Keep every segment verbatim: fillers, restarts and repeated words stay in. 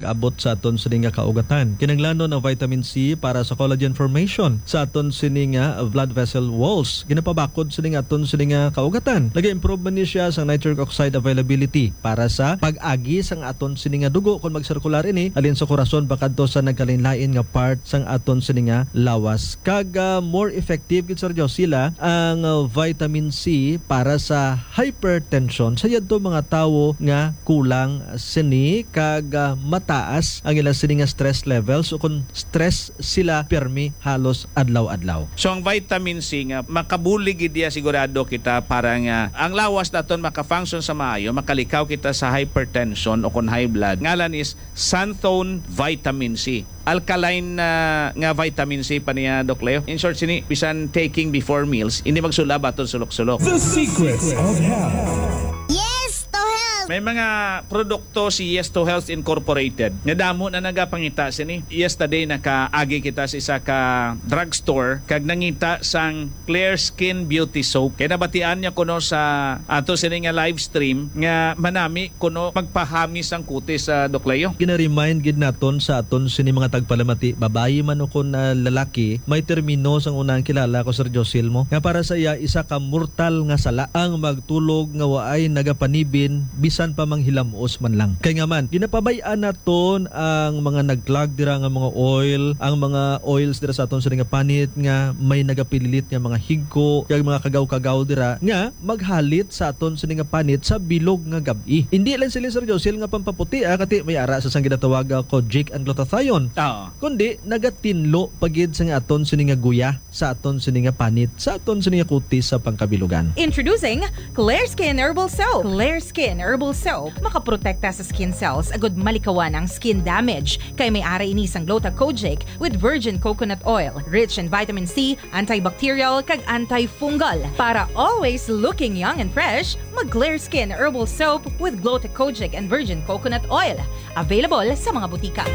abot sa aton sini nga kaugatan. Kinahanglanon ang vitamin C para sa collagen formation sa aton sini nga blood vessel walls. Ginapabakod sini nga aton sini nga kaugatan. Nag-improve man ni siya sa nitric oxide availability para sa pag-agi sang aton sini nga dugo kon magsirkular ini halin sa korason pakadto sa nagkalainlain nga part sang aton sini nga lawas. Kag, ah, more effective gid, Sir Josila, ang, ah, vitamin C para sa hypertension sa yadto mga tawo nga kulang sini kag, ah, mataas ang ila sini nga stress levels o kon stress sila pirmi halos adlaw-adlaw. So, ang vitamin C nga makabulig gid iya, sigurado kita para nga ang lawas naton maka-function sa maayo, makalikaw kita sa hypertension o kon high blood. Ngalan is Xanthone Vitamin C. Alkaline, ah, nga vitamin C pa niya, Doc Leo. In short, sini, bisan taking before meals, hindi magsulab aton sulok-sulok. The Secrets of Health. Yes to health! May mga produkto si Yes to Health Incorporated nga damo na nagapangita sini. Yesterday, nakaagi kita sa isa ka drugstore kag nangita sang Clear Skin Beauty Soap. Kay nabatian niya kuno sa ato sini nga live stream nga manami kuno magpahamis ang kutis sa, Doc Leo. Gina-remind gid naton sa aton sini mga tagpalamati, babayi man o kon, ah, lalaki, may termino sang unang kilala ko, Sir Josil, mo, nga para sa iya isa ka mortal nga sala ang magtulog nga waay nagapanibin bisan pa manghilamos man lang. Kay nga man, ginapabay-an naton ang mga nagklag dira nga mga oil, ang mga oils dira sa aton sini nga panit nga may nagapililit nga mga higko kag mga kagaw-kagaw dira nga maghalit sa aton sini nga panit sa bilog nga gab-i. Hindi lang sila, Sir Josil, nga pampaputi, ah, kati may ara sa sang ginatawag, ah, kojic and glutathione, Oo. kundi nagatinlo pa gid sa nga aton sini nga guya sa aton sini nga panit, sa aton sini nga kutis sa pangkabilugan. Introducing Clear Skin Herbal Soap. Clear Skin Herbal Soap makaprotekta sa skin cells agud malikawan ang skin damage, kay may ara ini sang Gluta Kojic with virgin coconut oil, rich in vitamin C, antibacterial, kag antifungal. Para always looking young and fresh, mag Clear Skin Herbal Soap with Gluta Kojic and virgin coconut oil. Available sa mga butika.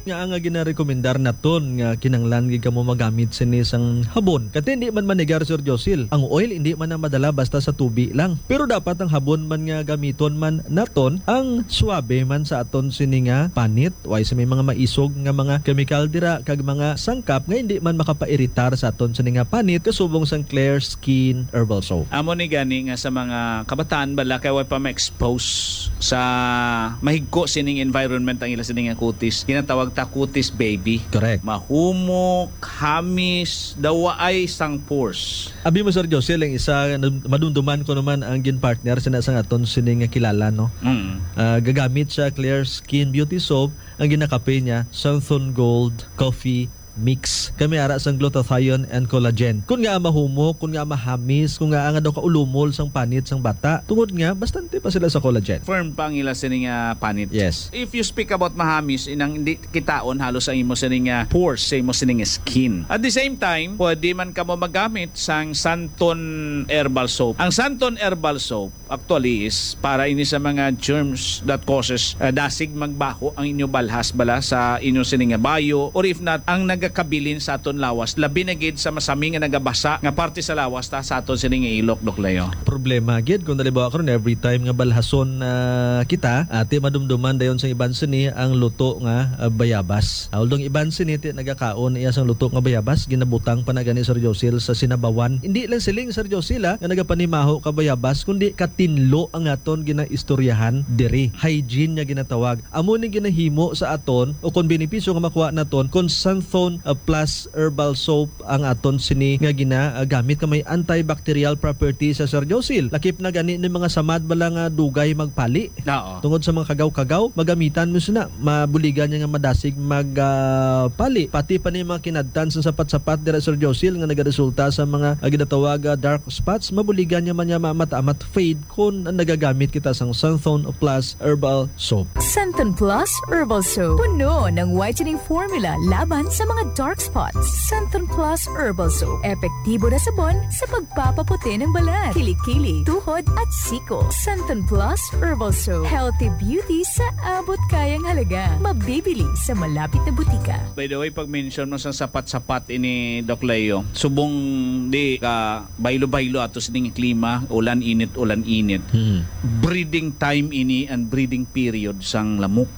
Nga nga ginarekomendar naton nga kinahanglan gid kamo magamit sini sang habon. Kati hindi man manigar, Sir Josil. Ang oil hindi man na madala basta sa tubi lang. Pero dapat ang habon man nga gamiton man naton ang suabe man sa aton sini nga panit. Way sa may mga maisog nga mga kemikal dira kag mga sangkap nga hindi man makapairitar sa aton sini nga panit kasubong sang Clear Skin Herbal Soap. Amo ni gani nga sa mga kabataan bala kay way pa ma-expose sa mahigko sining environment ang ila sini nga kutis. Ginatawag ta kutis baby. Correct. Mahumok, hamis, daw waay sang pores. Abi mo, Sir Josel, ang isa, madumduman ko naman ang gin-partner sina sang aton sini nga kilala, no? Mm. Ah, gagamit siya Clear Skin Beauty Soap, ang ginakape niya, Santhon Gold Coffee Mix. Kami ara sang glutathione and collagen. Kun nga mahumok, kun nga mahamis, kun nga nga daw kaulumol sang panit sang bata. Tungod nga, bastante pa sila sa collagen. Firm pa ang ila sini nga panit. Yes. If you speak about mahamis, inang hindi kitaon halos ang imo sini nga pores sa imo sini nga skin. At the same time, pwede man kamo magamit sang Santon Herbal Soap. Ang Santon Herbal Soap, actually, is para ini sa mga germs that causes, uh, dasig magbaho ang inyo balhas bala sa inyo sini nga bayo, or if not, ang nagakabilin sa aton lawas, labi na gid sa masami nga nagabasa nga parte sa lawas ta sa aton sini nga ilok, Doc Leo. Problema gid kung halimbawa karon, every time nga balhason, ah, kita, ati madumduman dayon sa iban sini ang luto nga, ah, bayabas. Ah, although iban sini ti nagakaon iya sang luto nga bayabas, ginabutang pa na gani, Sir Josil, sa sinabawan. Hindi lang siling, Sir Josil, ah, nga nagapanimaho ka bayabas, kundi katinlo ang aton ginaistoryahan diri. Hygiene nga ginatawag. Amo ni ginahimo sa aton o kon benepisyo nga makuha naton kon Santhon, ah, Plus Herbal Soap ang aton sini nga ginagamit nga may antibacterial property sa, Sir Josil. Lakip na gani ni mga samad bala nga dugay magpali. Oo. Tungod sa mga kagaw-kagaw, magamitan mo sina, mabuligan niya nga madasig mag, ah, pali. Pati pa ni mga kinadtan sa sapat-sapat dira, Sir Josil, nga nagaresulta sa mga, ah, ginatawag, ah, dark spots, mabuligan niya man niya maamat-amat fade kon nagagamit kita sang Santhon Plus Herbal Soap. Santon Plus Herbal Soap. Puno ng whitening formula laban sa mga dark spots. Santon Plus Herbal Soap. Epektibo na sabon sa pagpapaputi ng balat, kilikili, tuhod at siko. Santon Plus Herbal Soap. Healthy beauty sa abot kayang halaga. Mabibili sa malapit na butika. By the way, pag-mention mo sa sapat-sapat ini, Doc Leo, subong di ka baylo-baylo ato sining klima, ulan-init, ulan-init. Hmm. Breeding time ini and breeding period sang lamok.